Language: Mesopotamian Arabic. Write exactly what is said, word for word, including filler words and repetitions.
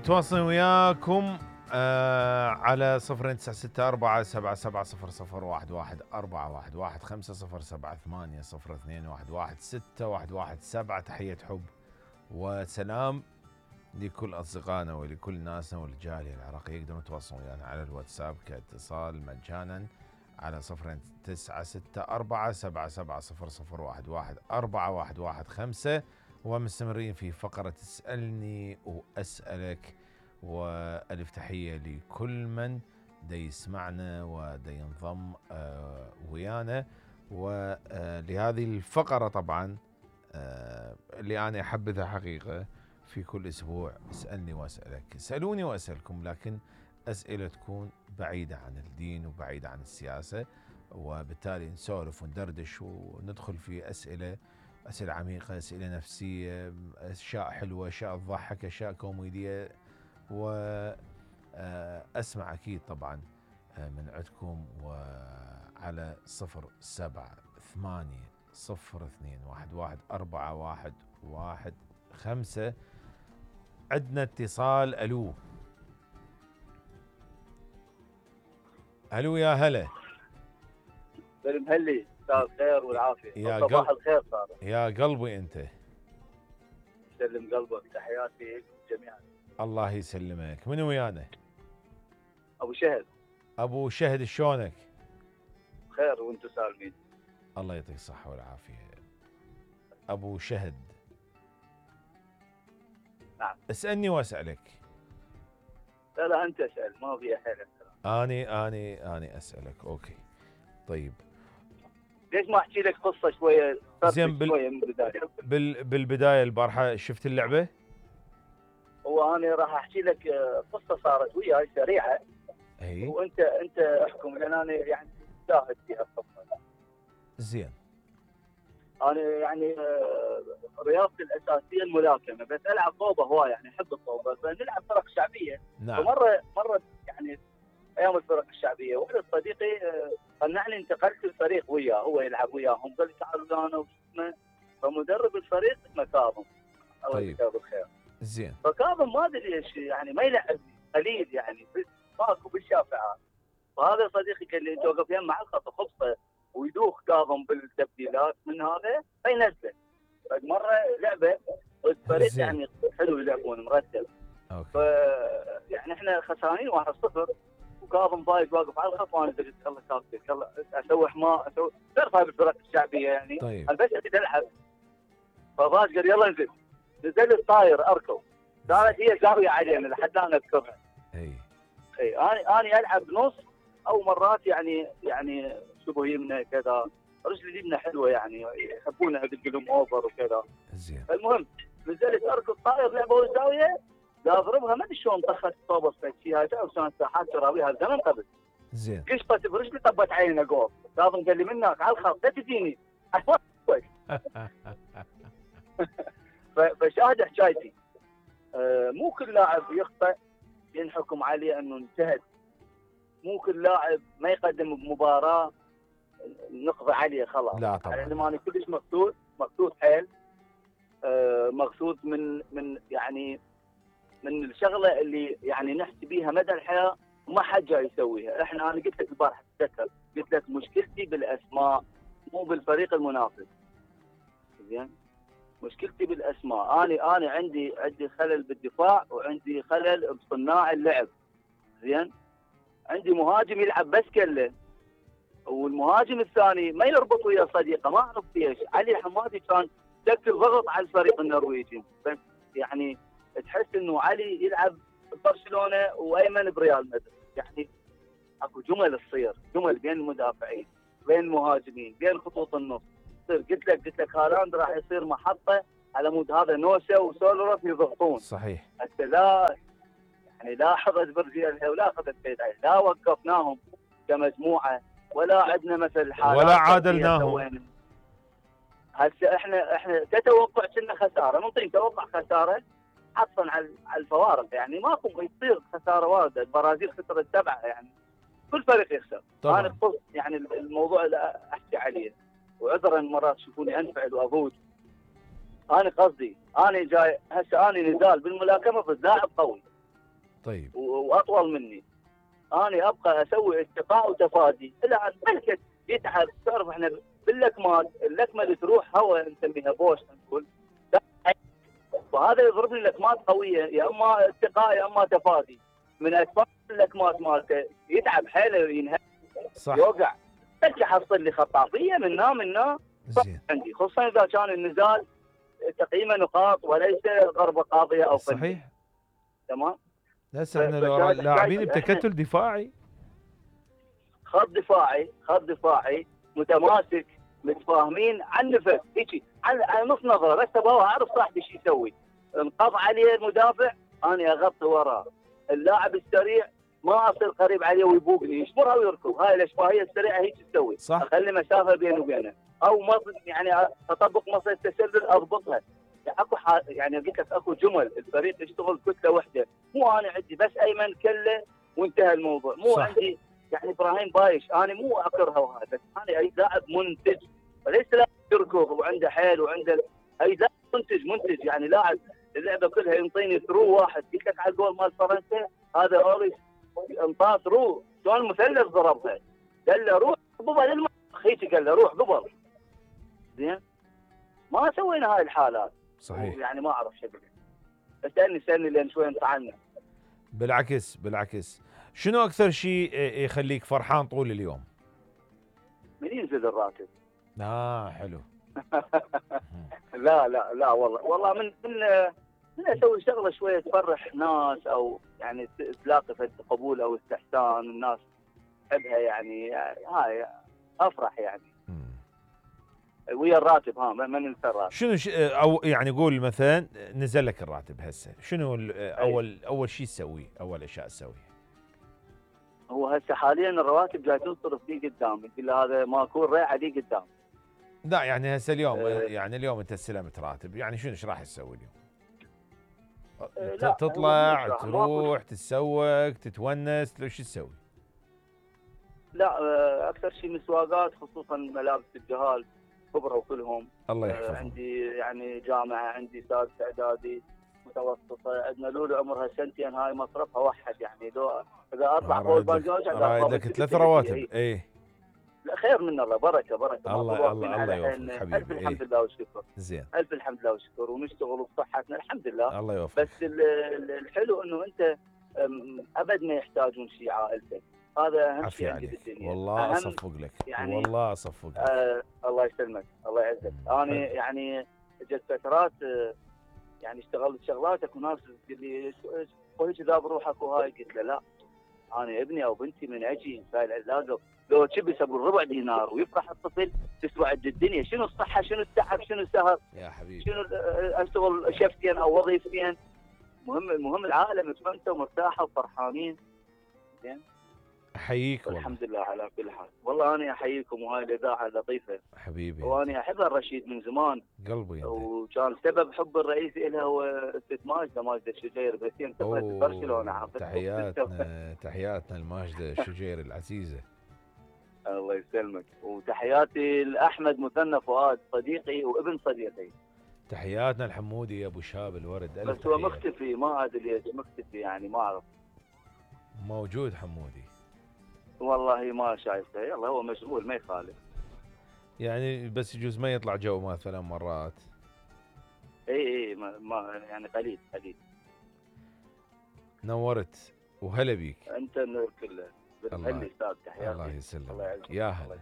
متواصلين وياكم آه على صفر تسعة ستة أربعة سبعة سبعة صفر صفر واحد واحد أربعة واحد واحد خمسة صفر سبعة ثمانية صفر اثنين واحد واحد ستة واحد واحد سبعة. تحية حب وسلام لكل أصدقائنا ولكل ناسنا والجالية العراقية. يقدرون يتواصلون ويانا على الواتساب كاتصال مجانا على صفر تسعة ستة أربعة سبعة سبعة صفر صفر واحد واحد أربعة واحد واحد خمسة. ومستمرين في فقرة اسألني وأسألك، وألف تحية لكل من دا يسمعنا ودا ينضم آه ويانا. ولهذه الفقرة طبعا آه اللي أنا أحبذها حقيقة في كل أسبوع، اسألني وأسألك. اسألوني وأسألكم، لكن أسئلة تكون بعيدة عن الدين وبعيدة عن السياسة، وبالتالي نسولف وندردش وندخل في أسئلة أسئلة عميقة، أسئلة نفسية، أشياء حلوة، أشياء تضحك، أشياء كوميدية. وأسمع أكيد طبعا من عندكم. وعلى صفر سبعة ثمانية صفر اثنين واحد واحد أربعة واحد واحد خمسة. عندنا اتصال. ألو ألو يا هلا. بالمهلي مساء الخير والعافية. يا صباح قلب الخير صار. يا قلبي أنت. سلم قلبك، تحياتي جميعا. الله يسلمك. من ويانا؟ أبو شهد. أبو شهد شلونك؟ خير وانتم سالمين. الله يعطيك الصحة والعافية أبو شهد. نعم. اسألني وأسألك. لا لا أنت اسأل، ما في حيل. أني أني أني أسألك. أوكي طيب. ليش ما أحكي لك قصة شوية؟ زين بال... شوية من البداية. بال... بالبداية البارحة شفت اللعبة؟ هو أنا راح أحكي لك قصة صارت وياي سريعة. أي. وأنت أنت احكم، لأن أنا يعني شاهد فيها القصة. زين. أنا يعني رياضتي الأساسية الملاكمة، بس ألعب طوبة هواي، يعني أحب الطوبة، فنلعب فرق شعبية. نعم. فمرة مرة يعني أيام الفرق الشعبية، واحد صديقي قنعني انتقلت الفريق وياه، هو يلعب وياهم، قال لي تعالوا أنا واسمه. فمدرب الفريق اسمه كاظم، الله يجزاه بالخير. زين. فكاظم ما ادري ليش يعني ما يلعب قليل، يعني ماكو بالشافعات. فهذا صديقي قال لي انت وقف يم مع الخط خبصه ويدوخ كاظم بالتبديلات من هذا فينزل. مرة لعبة الفريق يعني حلو يلعبون مرتب. اوكي. ف يعني احنا خسرانين واحد صفر وكاظم ضايق واقف على الخط، وانا قلت يلا كابتن يلا اسوي حماء اسوي تعرف هاي بالفرق الشعبيه يعني. طيب. انا بس اريد العب. فراش قال يلا انزل. نزلت طاير اركض، صارت هي زاويه علينا لحد الان اذكرها. اي اي انا انا العب نص او مرات يعني يعني شبه يمنى كذا، رجلي اليمنى حلوه يعني يحبونها بالقلم اوفر وكذا. زين. المهم نزلت اركض طاير لعبه الزاويه، لا اضربها ما ادري شلون طخت طوبه فشيها وكان ساحات تراويها زمن قبل. زين. قشطت برجلي طبت عيني جول. كاظم قال لي منك على الخط لا تجيني. فشاهد حكايتي. آه مو كل لاعب يخطئ ينحكم عليه انه انتهت. مو كل لاعب ما يقدم بمباراه نقضي عليه خلاص. لا طبعا. يعني ما انا كلش مقصود مقصود حيل. آه مقصود من من يعني من الشغله اللي يعني نحكي بيها مدى الحياه وما حد جاي يسويها. احنا انا قلت لك البارحه تذكر قلت لك مشكلتي بالاسماء مو بالفريق المنافس. زين. مشكلتي بالاسماء. انا انا عندي عندي خلل بالدفاع وعندي خلل بصناع اللعب. زين. عندي مهاجم يلعب بس كله، والمهاجم الثاني ما يربط ويا صديقه، ما اعرف ليش. علي حمادي كان شكل ضغط على الفريق النرويجي، بس يعني تحس انه علي يلعب برشلونه وايمن بريال مدريد. يعني اكو جمل تصير جمل بين المدافعين بين المهاجمين بين خطوط النص. قلت لك قلت لك هالاند راح يصير محطه على مود هذا نوسه وسولرف يضغطون. صحيح. حتى لا يعني لا اخذت برجيلها ولا اخذت بيد عين، لا وقفناهم كمجموعه ولا عندنا مثل حالات ولا عادلناهم. هسه احنا احنا تتوقع كنا خساره، نعطيك توقع خساره حصلا على الفوارق. يعني ماكو يصير خساره وارده. البرازيل خسرت سبعه، يعني كل فريق يخسر. طبعا. انا يعني الموضوع اللي احكي عليه وعذرا مرات تشوفوني انفعل وافوت. انا قصدي انا جاي هسه انا نزال بالملاكمه ضد لاعب قوي طيب. واطول مني. انا ابقى اسوي استقاء وتفادي الى ان ملكت يتعب. تعرف احنا باللكمات، اللكمه اللي تروح هواء نسميها بوش نقول، فهذا يضرب لي لكمات قويه، يا اما استقاء يا اما تفادي. من اسباب اللكمات مالته يتعب حيله، ينهك، صح. يوقع. ترجع حصل لي خطافيه منا منا زين. عندي، خصوصا اذا كان النزال تقييم نقاط وليس ضربه قاضيه او فنية. صحيح. تمام. هسه احنا لو لاعبين بتكتل دفاعي، خط دفاعي، خط دفاعي متماسك، متفاهمين عن نفس هيك، عن, عن نص نظره بس ابغى اعرف صاحبي شو يسوي. انقض عليه المدافع انا اغطي وراه. اللاعب السريع ما اصير قريب عليه ويبوقني، يشمرها ويركض. هاي الاشباهيه السريعه هيك تسوي. صح. اخلي مسافه بيني وبينه، او مص... يعني اطبق مصيدة التسلل اضبطها. يعني اكو ح... يعني قلت لك اكو جمل الفريق يشتغل كتله واحده، مو انا عندي بس ايمن كله وانتهى الموضوع، مو صح. عندي يعني ابراهيم بايش. انا مو اكرهه وهذا، بس انا اي لاعب منتج وليس لاعب يركض وعنده حيل وعنده، اي لاعب منتج منتج يعني لاعب اللعبه كلها ينطيني ثرو واحد. قلت لك على الجول مال فرنسا هذا اوريس انطاه ثرو شلون مثلث ضربها، قال له روح قبل المخ هيك، قال له روح قبل. زين ما سوينا هاي الحالات. صحيح. يعني ما اعرف شو اقول. اسالني اسالني لين شوي انطعنا. بالعكس بالعكس، شنو اكثر شيء يخليك فرحان طول اليوم؟ من ينزل الراتب. اه حلو. لا لا لا والله والله من من من اسوي شغله شويه تفرح ناس، او يعني تلاقي فد قبول او استحسان الناس تحبها، يعني هاي افرح يعني. مم. ويا الراتب ها ما ننسى الراتب. شنو ش... او يعني قول مثلا نزل لك الراتب هسه، شنو اول اول شيء تسويه؟ اول اشياء تسويها؟ هو هسه حاليا الرواتب جاي تنصرف لي قدام، يقول هذا ماكو ريعه لي قدام. لا يعني هسه اليوم أه يعني اليوم انت استلمت راتب، يعني شنو ايش راح تسوي اليوم؟ أه تطلع تروح تتسوق تتونس، لو شو تسوي؟ لا اكثر شيء مسواقات، خصوصا ملابس الجهال كبرى وكلهم. الله يحفظهم. أه عندي يعني جامعه، عندي سادس اعدادي، متوسطه، عندنا لولو عمرها سنتين هاي مصرفها وحد، يعني لو اذا اطلع فوق البنجاج رايد لك ثلاث رواتب. ايه لا خير من الله، بركه بركه. الله الله الله يوفقك حبيبي. الف الحمد لله والشكر. زين. الف الحمد لله والشكر، ونشتغل بصحتنا الحمد لله. الله يوفقك. بس الحلو انه انت ابد ما يحتاجون شيء عائلتك، هذا اهم شيء عندي بالدنيا. والله اصفق لك يعني، والله اصفق لك. آه الله يسلمك الله يعزك. انا يعني جت فترات يعني اشتغلت شغلاتك وناس تقول لي هيك ذا بروحك وهاي، قلت له لا، انا ابني او بنتي من اجي سايل علاقه لو تشبس ابو الربع دينار ويفرح الطفل تسوى عند الدنيا. شنو الصحه، شنو التعب، شنو السهر يا حبيبي، شنو اشتغل شفتين او وظيفتين. مهم المهم العائله متمنته ومرتاحه وفرحانين. زين احييك والله. الحمد لله على كل حال. والله انا احييكم، وهاي الاذاعه لطيفه حبيبي، وانا احبها الرشيد من زمان قلبي. وكان سبب حب الرئيسي لها هو ست ماجده ماجده الشجير، بس هي انتقلت لبرشلونه. تحياتنا تحياتنا لماجده الشجير العزيزه. الله يسلمك. وتحياتي لاحمد مثنى فؤاد صديقي وابن صديقي. تحياتنا الحمودي يا ابو شاب الورد. بس هو مختفي، ما ادري ليش مختفي، يعني ما اعرف. موجود حمودي والله ما شايفه، يلا هو مشغول ما يخالف. يعني بس يجوز ما يطلع جو مثلا مرات. اي اي ما, ما يعني قليل قليل. نورت وهلا بيك. انت النور كله. الله استاذ تحياتي. الله يسلمك. يا هلا.